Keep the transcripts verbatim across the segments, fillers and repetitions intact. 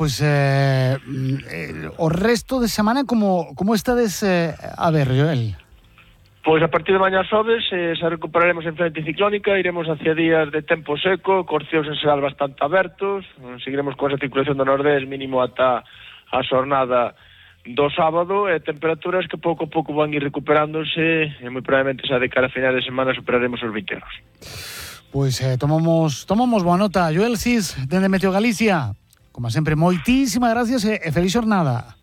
Pois eh, eh, o resto de semana como, como estades eh, a ver, Joel? Pois a partir de mañá xoves eh, se recuperaremos en frente ciclónica, iremos hacia días de tempo seco, cos cieus en xeral bastante abertos, seguiremos con esa circulación do nordés mínimo ata a xornada do sábado, e temperaturas que pouco a pouco van ir recuperándose, e moi probablemente xa de cara a final de semana superaremos os vinte graus. Pois eh, tomamos, tomamos boa nota. Joel Cis, dende Meteo Galicia. Como sempre, moitísimas gracias e, e feliz xornada.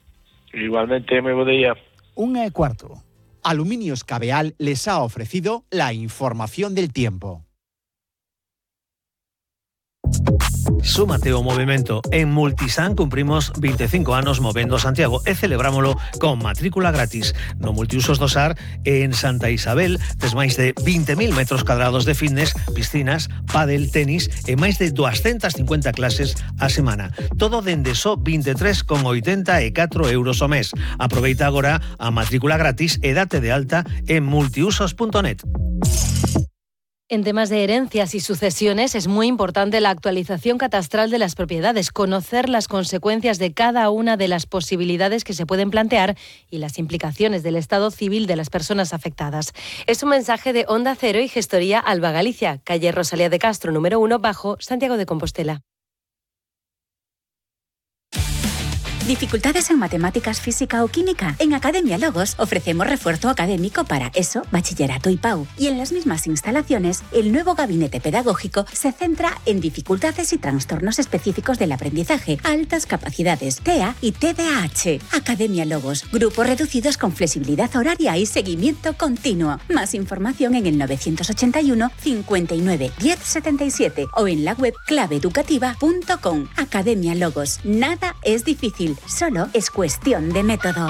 Igualmente, moi bo día. Unha e cuarto. Aluminios Cabeal les ha ofrecido la información del tiempo. Súmate ao movimento. En Multisan cumprimos veinticinco anos movendo Santiago e celebrámolo con matrícula gratis. No Multiusos do Sar, en Santa Isabel, tes máis de vinte mil metros cadrados de fitness, piscinas, pádel, tenis e máis de doscientas cincuenta clases a semana. Todo dende só vinte e tres con oitenta e catro euros ao mes. Aproveita agora a matrícula gratis e date de alta en multiusos punto net. En temas de herencias y sucesiones es muy importante la actualización catastral de las propiedades, conocer las consecuencias de cada una de las posibilidades que se pueden plantear y las implicaciones del estado civil de las personas afectadas. Es un mensaje de Onda Cero y Gestoría Alba Galicia, calle Rosalía de Castro, número uno, bajo, Santiago de Compostela. ¿Dificultades en matemáticas, física o química? En Academia Logos ofrecemos refuerzo académico para ESO, bachillerato y P A U. Y en las mismas instalaciones, el nuevo gabinete pedagógico se centra en dificultades y trastornos específicos del aprendizaje, altas capacidades, T E A y T D A H. Academia Logos, grupos reducidos con flexibilidad horaria y seguimiento continuo. Más información en el novecientos ochenta y uno, cincuenta y nueve, diez setenta y siete o en la web clave educativa punto com. Academia Logos. Nada es difícil. Solo es cuestión de método.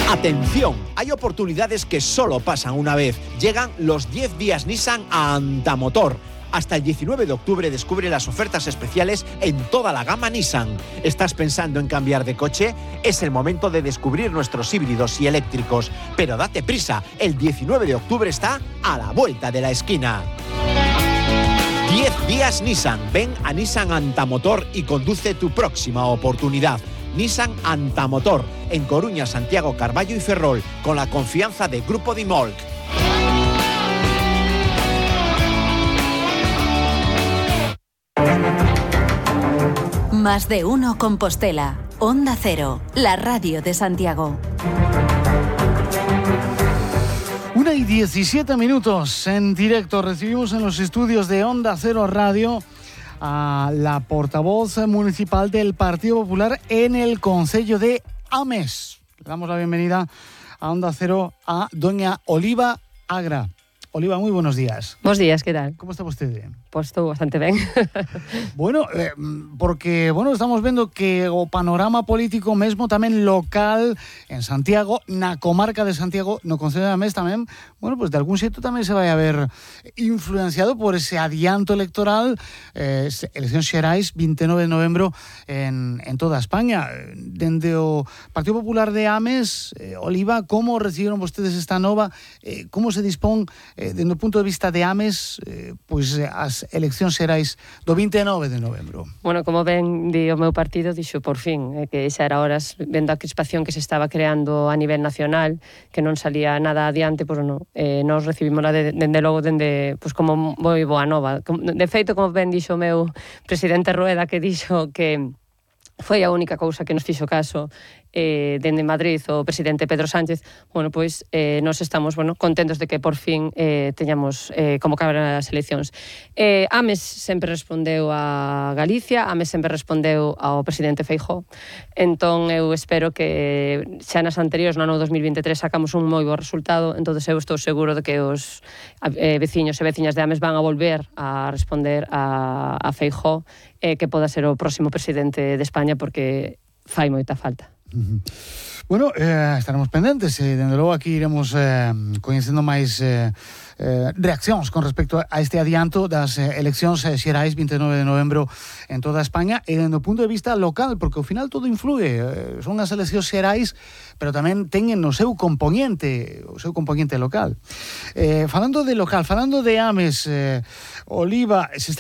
Atención, hay oportunidades que solo pasan una vez. Llegan los diez días Nissan a Antamotor. Hasta el diecinueve de octubre descubre las ofertas especiales en toda la gama Nissan. ¿Estás pensando en cambiar de coche? Es el momento de descubrir nuestros híbridos y eléctricos. Pero date prisa, el diecinueve de octubre está a la vuelta de la esquina. diez días Nissan. Ven a Nissan Antamotor y conduce tu próxima oportunidad. Nissan Antamotor, en Coruña, Santiago, Carballo y Ferrol, con la confianza de Grupo Dimolc. Más de uno Compostela. Onda Cero, la radio de Santiago. Una y diecisiete minutos en directo. Recibimos en los estudios de Onda Cero Radio a la portavoz municipal del Partido Popular en el Concello de Ames. Le damos la bienvenida a Onda Cero a doña Oliva Agra. Oliva, muy buenos días. Buenos días, ¿qué tal? ¿Cómo está usted? Pois estou bastante ben. Bueno, eh, porque, bueno, estamos vendo que o panorama político mesmo tamén local en Santiago, na comarca de Santiago, no Concello de Ames tamén, bueno, pues de algún xeito tamén se vai a ver influenciado por ese adianto electoral, eh, eleccións xerais vinte e nove de novembro en, en toda España. Dende o Partido Popular de Ames, eh, Oliva, como recibiron vostedes esta nova? Eh, como se dispón, eh, dende o punto de vista de Ames, eh, pois pues, as eleccións xerais do vinte e nove de novembro? Bueno, como ben di o meu partido, dixo por fin eh, que xa era horas, vendo a crispación que se estaba creando a nivel nacional, que non salía nada adiante, pois non, eh, nos recibimos de, dende logo dende, pois como moi boa nova. De feito, como ben dixo o meu presidente Rueda, que dixo que foi a única cousa que nos fixo caso eh, dende Madrid o presidente Pedro Sánchez, bueno, pois eh, nos estamos, bueno, contentos de que por fin eh, teñamos eh, como cabran as eleccións. Eh, Ames sempre respondeu a Galicia, Ames sempre respondeu ao presidente Feijóo, entón eu espero que xa nas anteriores, no ano dos mil vinte e tres, sacamos un moi bo resultado, entón eu estou seguro de que os eh, veciños e veciñas de Ames van a volver a responder a, a Feijóo, eh, que poda ser o próximo presidente de España, porque fai moita falta. Uh-huh. Bueno, eh, estaremos pendentes e, dende logo, aquí iremos eh, coñecendo máis eh, eh, reaccións con respecto a este adianto das eh, eleccións eh, xerais vinte e nove de novembro en toda España e dende o punto de vista local, porque ao final todo influye. Eh, son as eleccións xerais, pero tamén teñen o seu componente, o seu componente local. Eh, falando de local, falando de Ames, eh, Oliva, se está